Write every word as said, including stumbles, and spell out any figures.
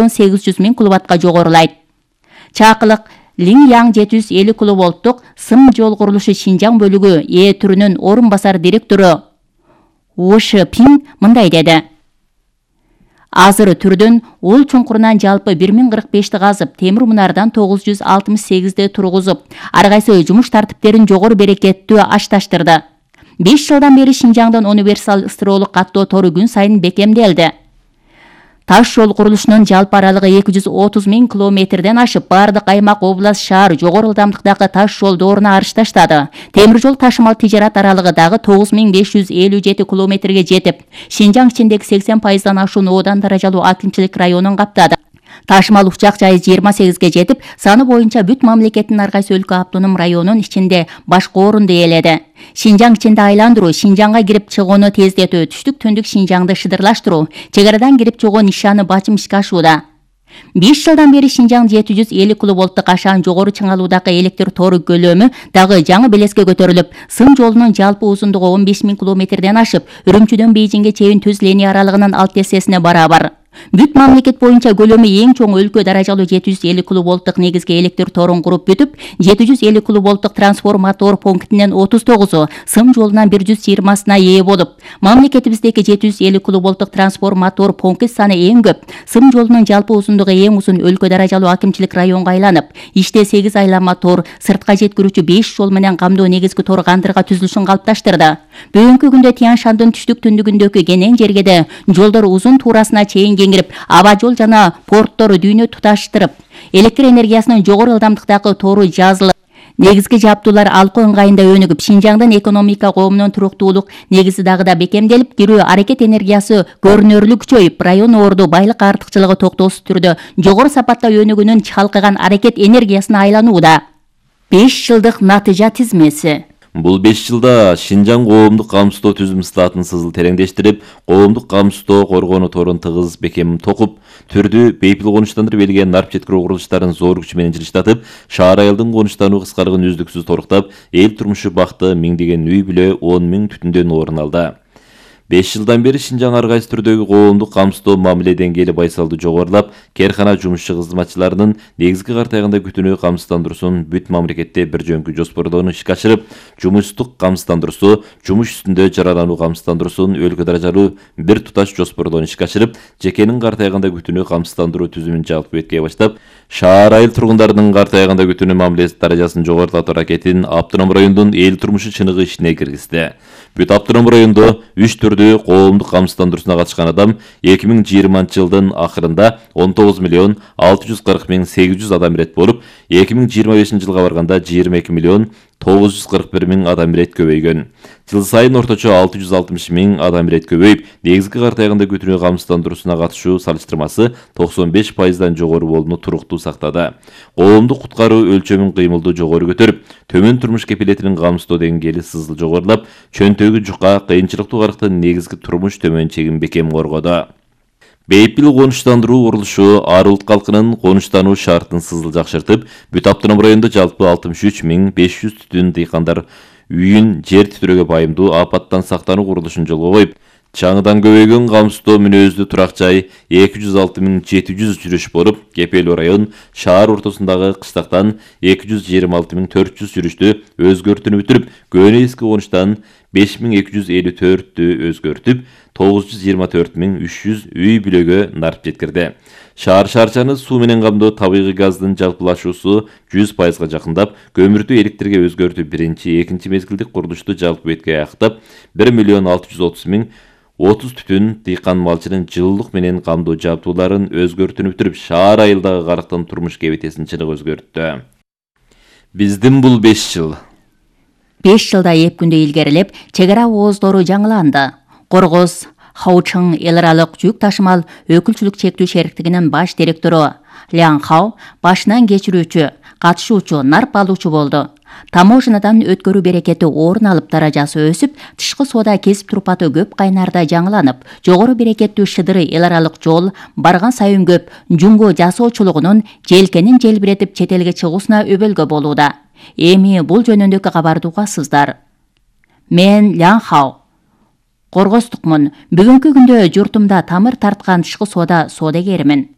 миллион сегиз жүз миң киловаттка жогорулайт. Чакылык Линьян жети жүз элүү киловолттук сым жол курулушу Шинжаң бөлүгү Э түрүнүн орун басар директору Wu Shiping мындай деди. Азыр түрдүн ул чуңкурунан жалпы бир миң кырк бешти казып, темир мунардан тогуз жүз алтымыш сегизди тургузуп, ар кайсы жумуш тартиптерин жогору берекеттүү ашташтырды. беш жылдан бери Шинжаңдын универсал ысыроолук каттоо тору күн сайын бекемделди. Таш жол курулушунун жалпы аралыгы эки жүз отуз миң километрден ашып, бардык аймак, область, шаар жогору ылдамдыктагы таш жолдоруна арыш таштады. Темир жол ташымал тижарат аралыгы дагы тогуз миң беш жүз элүү жети километрге жетип, Шинжаң ичиндеги сексен пайыздан ашуун одан даражалуу акимчилик районун каптады. Ташымал учак жайы жыйырма сегизге жетип, саны боюнча бүт мамлекеттин ар кайсы өлкө автоном районунун ичинде башкы орунду ээледи. Шинжаң ичинде айландыруу, Шинжаңга кирип чыгууну тездетүү, түштүк түндүк Шинжаңды шыдырлаштыруу, чек арадан кирип чыгуу нишаны бачым ишке ашууда. беш жылдан бери Шинжаң жети жүз элүү киловолттук ашаан жогору чыңалуудагы электр тору көлөмү дагы жаңы белеске көтөрүлүп, сым жолунун жалпы узундугу он беш миң километрден ашып, Үрүмчүдөн Бейжиңге чейин түз линия аралыгынын алты эсесине барабар. Бүт мамлекет боюнча көлөмү эң чоң өлкө даражалуу жети жүз элүү киловолттук негизги электр торун куруп бүтүп, жети жүз элүү киловолттук трансформатор пунктинен отуз тогузу, сым жолунан бир жүз жыйырмасына ээ болуп, мамлекетибиздеги жети жүз элүү киловолттук трансформатор пункт саны эң көп, сым жолунун жалпы узундугу эң узун өлкө даражалуу акимчилик районго айланып, иште сегиз айланма тор, сыртка жеткирүүчү беш жол менен камдоо негизги тор кандырга түзүлүшүн калыпташтырды. Бүгүнкү күндө Тянь-Шандын түштүк түндүгүндөгү кенен жергеде жолдор узун туурасына чейин кеңирип, аба жол жана порттор дүйнө туташтырып, электр энергиясынын жогору ылдамдыктагы тору жазылып, негизги жабдуулар алкоо ыңгайында өнүгүп, Шинжаңдын экономика коомунун туруктуулук негизи дагы да бекемделип, кирүү аракет энергиясы көрүнөрлүк күчөйүп, район орду байлык артыкчылыгы токтоосуз түрдө жогору сапатта өнүгүүнүн чалкыган аракет энергиясына айланууда. беш жылдык натыйжа тизмеси. Бул беш жылда Шинжаң коомдук камсыздоо түзүм статын сызыл тереңдештирип, коомдук камсыздоо коргонуу торун тыгыз бекем токуп, түрдү бейпил конуштандырып элген нарп жеткирүү курулуштарын зор күч менен жылыштатып, шаар айылдын конуштануу кыскарыгын үздүксүз торуктап, эл турмушу бакты миңдеген үй бүлө он миң түтүндөн орун алды. беш жылдан бери Шинжаң ар кайсы түрдөгү коомдук камсыздоо мамиле деңгээли байсалдуу жогорулап, кээркана жумушчу кызматчыларынын негизги картайганда күтүүнү камсыздандыруусун бүт мамлекетте бир жөнкү жоспордоону ишке ашырып, жумуштук камсыздандыруусу, жумуш үстүндө жаралануу камсыздандыруусун өлкө даражалуу бир туташ жоспордоону ишке ашырып, жекенин картайганда күтүүнү камсыздандыруу түзүмүн жалпы бетке баштап, шаар айыл тургундарынын картайганда күтүүнү мамилеси даражасын жогорулатуу аракетин автоном райондун эл турмушу чыныгы ишине киргизди. Бүт автоном райондо үч түрдүү коомдук камсыздандыруусуна катышкан адам эки миң жыйырманчы жылдын акырында он тогуз миллион алты жүз кырк миң сегиз жүз адам ирет болуп, эки миң жыйырма бешинчи жылга барганда жыйырма эки миллион тогуз жүз кырк бир миң адам ирет көбөйгөн. Жыл сайын орточо алты жүз алтымыш миң адам ирет көбөйүп, негизги картайганда күтүүнү камсыздандыруусуна катышуу салыштырмасы токсон беш пайыздан жогору болууну туруктуу сактады. Коомдук куткаруу өлчөмүн кыймылдуу жогору көтөрүп, төмөн турмуш кепилетинин камсыздоо деңгээли сызыл жогорулап, чөнтөгү жука, кыйынчылыктуу карактын негизги турмуш төмөн чегин бекем коргоду. Бейпил конуштандыруу курулушу ар улут калкынын конуштануу шартын сызыл жакшыртып, бүт автоном райондо жалпы алтымыш үч миң беш жүз түтүн дыйкандар үйүн жер титирөөгө байымдуу апаттан сактануу курулушун жолго коюп, чаңыдан көбөйгөн камсыздоо мүнөздүү турак жай эки жүз алты миң жети жүз жүрүш болуп, Кепелүү район шаар ортосундагы кыштактан эки жүз жыйырма алты миң төрт жүз жүрүштү өзгөртүүнү бүтүрүп, көөнө эски конуштан беш миң эки жүз элүү төрттү өзгөртүп, тогуз жүз жыйырма төрт миң үч жүз үй бүлөгө нарп жеткирди. Шаар шаарчаны суу менен камдоо табигый газдын жалпылашуусу жүз пайызга жакындап, көмүрдү электрге өзгөртүү биринчи, экинчи мезгилдик курулушту жалпы бетке аяктап, бир миллион алты жүз отуз миң отуз түтүн дыйкан малчынын жылуулук менен камдоо жабдууларын өзгөртүүнү бүтүрүп, шаар айылдагы карактын турмуш кебетесин чыныгы өзгөрттү. Биздин бул беш жыл. беш жылда эп күндө илгерилеп, чек ара ооздору жаңыланды. Коргоз Хаучың эл аралык жүк ташымал өкүлчүлүк чектүү шериктигинин баш директору Лян Хау башынан кечирүүчү, катышуучу, нарп алуучу болду. Таможнядан өткөрүү берекети орун алып, даражасы өсүп, тышкы соода кесип турпаты көп кайнарда жаңыланып, жогору берекеттүү шыдыры эл аралык жол барган сайын көп, жумго жасоочулугунун желкенин желбиретип чет элге чыгуусуна өбөлгө болууда. Эми бул жөнүндөгү кабарды угасыздар. Мен Лян Хау. Коргоздукмун. Бүгүнкү күндө журтумда тамыр тарткан тышкы соода соодагермин.